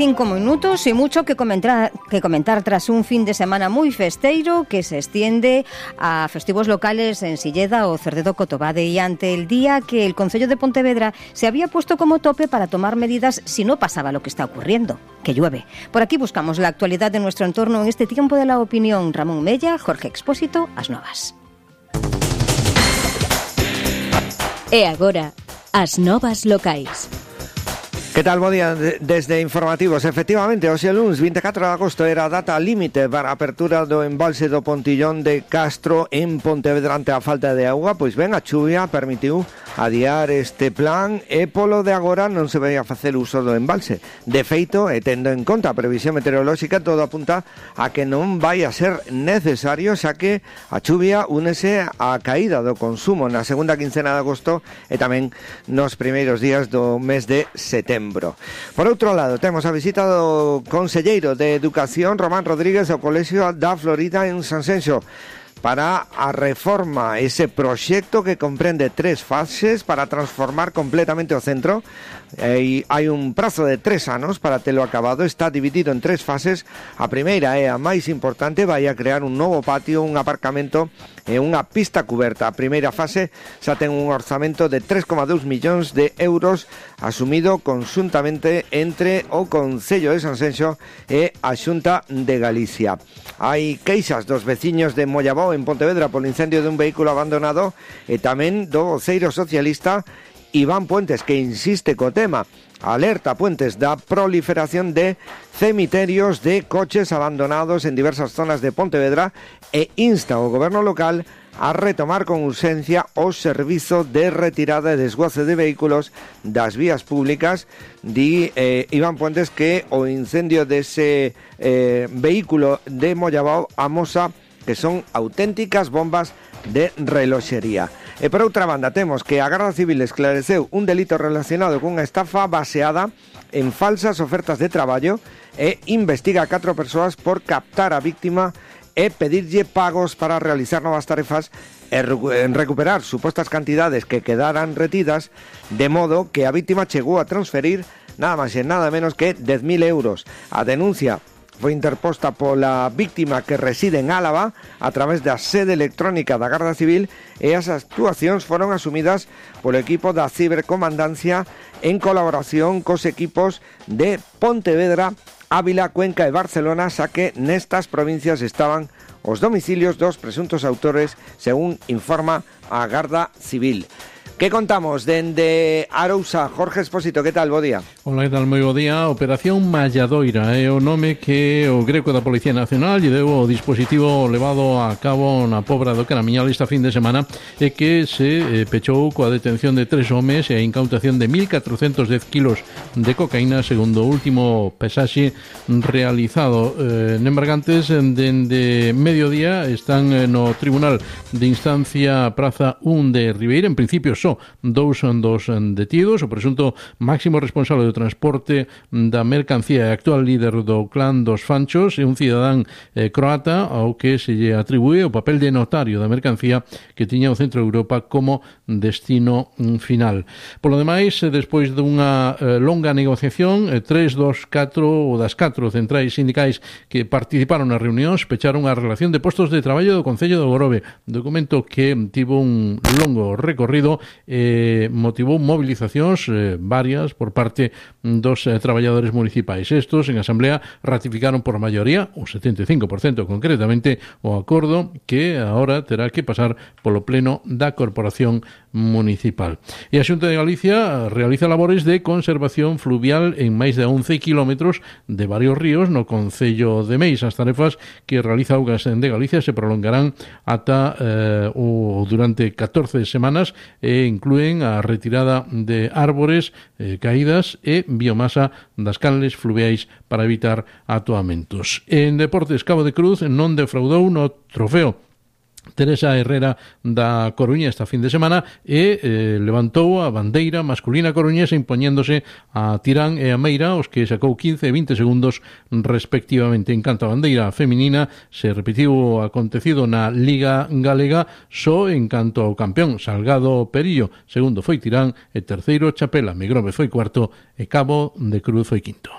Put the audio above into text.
5 minutos y mucho que comentar tras un fin de semana muy festeiro que se extiende a festivos locales en Silleda o Cerdedo Cotobade, y ante el día que el Concello de Pontevedra se había puesto como tope para tomar medidas si no pasaba lo que está ocurriendo, que llueve. Por aquí buscamos la actualidad de nuestro entorno en este tiempo de la opinión. Ramón Mella, Jorge Expósito, As Novas. E agora, As Novas Locais. Que tal, bo día desde Informativos. Efectivamente, hoxe luns 24 de agosto era a data límite para a apertura do embalse do Pontillón de Castro en Pontevedra ante a falta de auga. Pois ben, a chuvia permitiu adiar este plan e polo de agora non se vai a facer uso do embalse. De feito, e tendo en conta a previsión meteorolóxica, todo apunta a que non vai a ser necesario, xa que a chuvia únese á caída do consumo na segunda quincena de agosto e tamén nos primeiros días do mes de setembro. Por outro lado, temos a visita do conselleiro de Educación, Román Rodríguez, ao Colexio da Florida en Sanxenxo, para a reforma, ese proxecto que comprende 3 fases para transformar completamente o centro. Hai un prazo de 3 anos para telo acabado. Está dividido en 3 fases. A primeira é a máis importante, vai a crear un novo patio, un aparcamento e unha pista cuberta. A primeira fase xa ten un orzamento de 3,2 millóns de euros asumido conxuntamente entre o Concello de Sanxenxo e a Xunta de Galicia. Hai queixas dos veciños de Mollabó en Pontevedra polo incendio dun vehículo abandonado e tamén do voceiro socialista Iván Puentes, que insiste co tema. Alerta Puentes da proliferación de cemiterios de coches abandonados en diversas zonas de Pontevedra e insta ao goberno local a retomar con urxencia o servizo de retirada e desguace de vehículos das vías públicas. Di Iván Puentes que o incendio dese vehículo de Mollabao amosa que son auténticas bombas de reloxería. E por outra banda temos que a Garda Civil esclareceu un delito relacionado cunha estafa baseada en falsas ofertas de traballo e investiga a 4 persoas por captar a víctima e pedirlle pagos para realizar novas tarefas e recuperar supostas cantidades que quedaran retidas, de modo que a víctima chegou a transferir nada máis e nada menos que 10.000 euros. A denuncia foi interposta pola víctima que reside en Álava a través da sede electrónica da Garda Civil e as actuacións foron asumidas polo equipo da cibercomandancia en colaboración cos equipos de Pontevedra, Ávila, Cuenca e Barcelona, xa que nestas provincias estaban os domicilios dos presuntos autores, según informa a Garda Civil. Que contamos dende Arousa? Jorge Expósito, que tal? Bo día. Hola, que tal? Moi bo día. Operación Malladoira é o nome que o Greco da Policía Nacional lle deu o dispositivo levado a cabo na Pobra do Caramiñal esta fin de semana e que se pechou coa detención de 3 homes e a incautación de 1.410 kilos de cocaína, segundo o último pesaxe realizado. Nembargantes dende mediodía están no Tribunal de Instancia Praza 1 de Ribeira. En principio só dous dos detidos. O presunto máximo responsable do transporte da mercancía e actual líder do clan dos Fanchos é un cidadán croata ao que se lle atribúe o papel de notario da mercancía que tiña o Centro de Europa como destino final. Polo demais, despois dunha longa negociación, 3 das 4 centrais sindicais que participaron nas reunións pecharon a relación de postos de traballo do Concello de Grove, documento que tivo un longo recorrido motivou movilizacións varias por parte dos traballadores municipais. Estos en asamblea ratificaron por maioría, o 75% concretamente, o acordo que agora terá que pasar polo pleno da Corporación Municipal. E a Xunta de Galicia realiza labores de conservación fluvial en máis de 11 kilómetros de varios ríos no Concello de Meis. As tarefas que realiza Augas de Galicia se prolongarán ata durante 14 semanas e inclúen a retirada de árbores caídas e biomasa das canles fluviais para evitar atoamentos. En deportes, Cabo de Cruz non defraudou no trofeo Teresa Herrera da Coruña esta fin de semana e levantou a bandeira masculina coruñesa impoñéndose a Tirán e a Meira, os que sacou 15 e 20 segundos respectivamente. En canto a bandeira feminina, se repetiu o acontecido na Liga Galega, só en canto ao campeón Salgado Perillo, segundo foi Tirán e terceiro Chapela. Megrove foi cuarto e Cabo de Cruz foi quinto.